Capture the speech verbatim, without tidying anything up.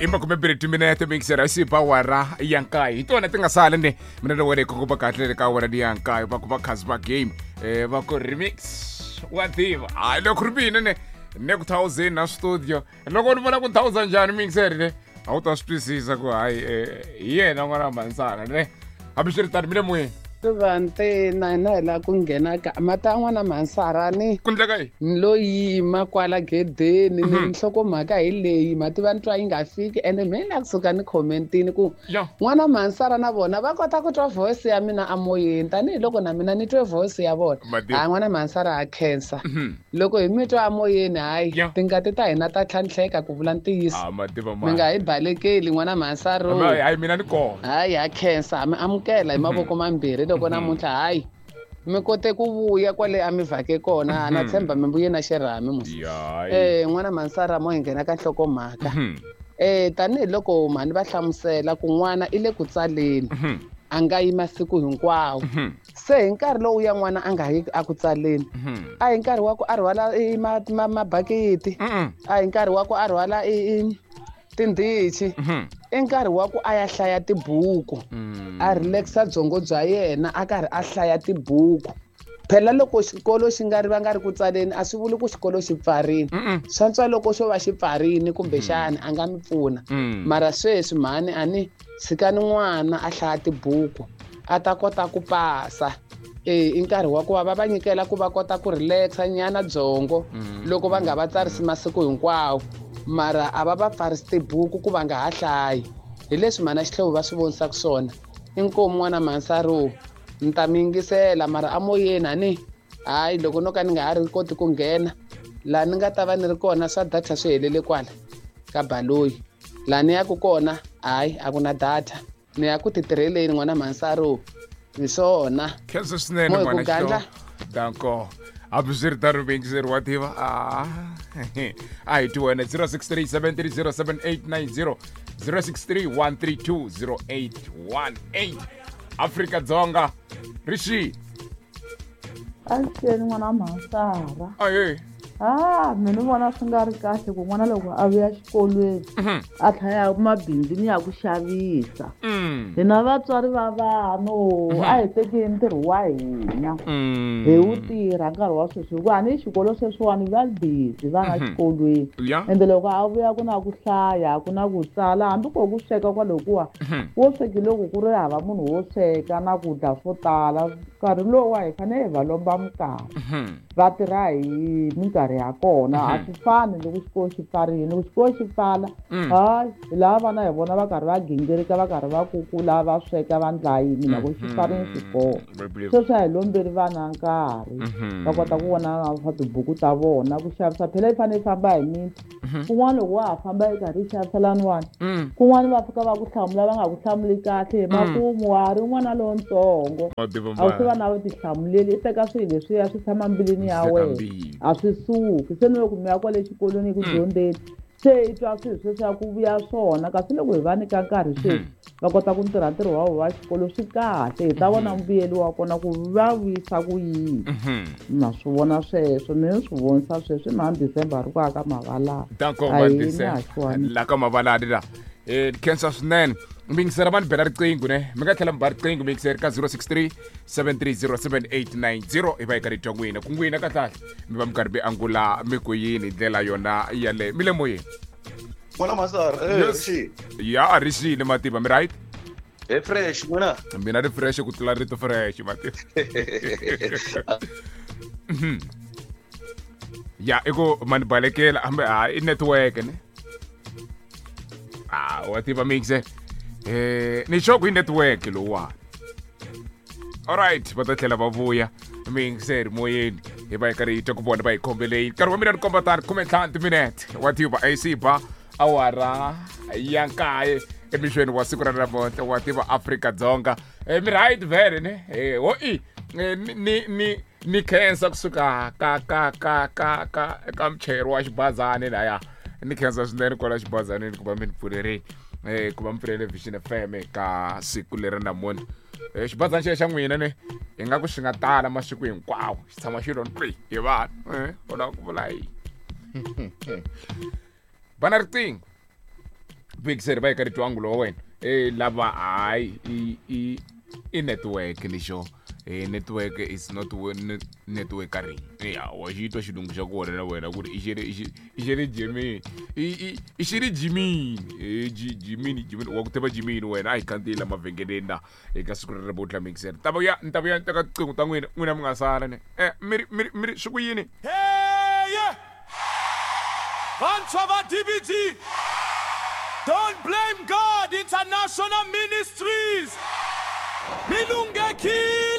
I makumembirhi timinete mixer xi ba wara ya nkaye hi tona ti nga sala ne mina loko wena ku ba kahle ka wara ya nkaye va ku va khazi va game eh va ku remix wa tiva hayi loko ri mina ne ne ku thousand na studio loko ni vona ku thousand njhani mixer ne a wu ta swi twisisa ku hayi hi yena n'wana Mansana ne hambiswiritano mi le moyeni Vantena hina hi lava ku nghena ka mata n'wana Mansara ni ku ndleka yini ni lo yima kwala gedeni ni nhlokomhaka hi leyi mativa ni twa yi nga fiki ende me la kusuka ni commentini ku n'wana Mansara na vona va kota ku twa voice ya mina amoyeni tanihiloko na mina ni twe voice ya vona hayi n'wana Mansara ha khensa loko hi mi twa amoyeni hayi tingati ta hina ta tlhantlheka ku vula ntiyiso mi nga hi balekeli n'wana Mansara hayi mina ni kona hayi ha khensa ha mi amukela hi mavoko mambirhi loko namuntlha hayi mi kote ku vuya kwale a mi vhake kona na tshemba mi vuye na xirhami musi eh n'wana Mansara mo hi nghena ka nhlokomhaka eh tanihiloko mhani va hlamusela ku n'wana i le ku tsaleni a nga yi masiku hinkwawo se hi nkarhi lowu ya n'wana a nga yi a ku tsaleni a hi nkarhi wa ku a rhwala mabakiti a hi nkarhi wa ku a rhwala tindhichi i nkarhi wa ku a ya hlaya tibuku a relaxa byongo bya yena a karhi a hlaya tibuku phela loko xikolo xi nga ri va nga ri ku tsaleni a swi vuli ku xikolo xi pfarini swantswa loko xo va xi pfarini kumbexani a nga mi pfuna mara sweswi mhani a ni tshikani n'wana a hlaya tibuku a ta kota ku pasa eh i nkarhi wa ku va va va nyikela ku va kota ku relaxa nyana byongo loko va nga va tsarisi masiku hinkwawo mara a va va pfarisi tibuku ku va nga ha hlayi hi leswi mhana xihlovo va swi vonisaka swona inkomu n'wana Mansaro ni ta mi yingisela mara amoyeni a ni hayi loko no ka ni nga ha ri koti ku nghena laha ni nga ta va ni ri kona swa data swi helele kwala ka baloyi laha ni yaku kona hayi a ku na data ni ya ku titirheleni n'wana Mansaro hi swona khensa swinene n'wana xihlovo danko hambiswiritano mixer wa tiva a a hi ti wena zero six three seven three zero seven eight nine zero zero six three one three two zero eight one eight Afrika Dzonga Rishi Axeni n'wana Mansara aye ah mina vona swi nga ri kahle ku n'wana loko a vuya xikolweni a tlhaya mabindzini ya ku xavisa hina vatswari va vanhu a hi tekeni ntirho wa hina hi wu tirha nkarhi wa sweswi hikuva ni xikolo sweswiwani va busy vana xikolweni ende loko a vuya ku na ku hlaya ku na ku tsala hambi ko ku sweka kwalokuwa wo sweki loko ku ri hava munhu wo sweka na ku dya swo tala nkarhi lowu hi fanele hi va lomba minkarhi va tirha hi minkarhi ya kona a swi fani loko xikolo xi pfarile loko xikolo xi pfala hayi hi lava vana hi vona va karhi va gingirika va karhi va kukula va sweka va ndla yini loko xi pfarile xikolo sweswi a hi lombeli vana nkarhi va kota ku vona swa tibuku ta vona ku xavisa phela yi fanele yi famba hi miti kun'wana loko wa ha famba yi karhi yi xavisa laniwani kun'wana va fika va ku hlamula va nga ku hlamuli kahle hi makumu wa ha ri n'wana lontsongo a wu se va na vutihlamuleli i teka swilo leswiya swi tshama mbilwini ya wena a swi suki se ni loko mi ya kwale xikolweni ku dyondzeni se i twa swilo sweswiya ku vuya swona kasi loko hi va nyika nkarhi sweswi va kota ku ntirha ntirho wa vona wa xikolo swi kahle hi ta vona mbuyelo wa kona ku va vuyisa ku yini na swi vona sweswo mina swi vonisa sweswi mhani December ri ku aka mavalani la ka mavalani la eh khensa swinene mixer va ni bela riqingho ne mi nga tlhela mi ba riqingho mixer ka zero six three seven three zero seven eight nine zero hi va hi karhi twa n'wina ku n'wina kahlekahle mi va mi karhi mi angula mi ku yini hi ndlela yona yaleyo mi le moyeni n'wana Mansara eh Rishi ya Rishi ni mativa mi right e fresh n'wina mina ri fresh ku tlula rito fresh mativa ya i ku mani balekela hambi ha i network ne ah wa tiva mixer eh ni xoko i network lowuwani alright va ta tlhela va vuya mixer moyeni hi va hi karhi hi twa ku vona va hi khombeleni nkarhi wa mina ni komba tani khume ntlhanu timinete wa tiva A C ba awara ya nkaye emixweni wa siku ra namuntlha wa tiva Afrika Dzonga mi right vhele ne ho i ni ni ni khensa kusuka ka ka ka ka ka ka muchayeri wa xibazani laya ni khensa swinene kwala xibazanini ku va mi ni pfulerini eh ku va mi pfulele Vision F M ka siku leri namuntlha eh xibazana xexo xa n'wina ne hi nga ku xi nga tala masiku hinkwawo xi tshama xi lo ntwi hi vanhu eh u lava ku vula yini bana riqingho Big va eka ritwangulo wa wena eh lava hayi i i i network lexo eh network is not network ring ya wa xi twa xilungu xa kona na wena ku ri i xi ri i xi ri jimini i i xi ri jimini eh jimini jimini wa ku tiva jimini wena a hi khandziyela mavhengeleni na eka siku rero vo mixer ta vuya ni ta vuya ni teka tiqingho ta n'wina n'wina mi nga sala ne eh mi ri mi ri mi ri swi ku yini hey vantshwa va D B G Don't Blame God International Ministries. Milungekile.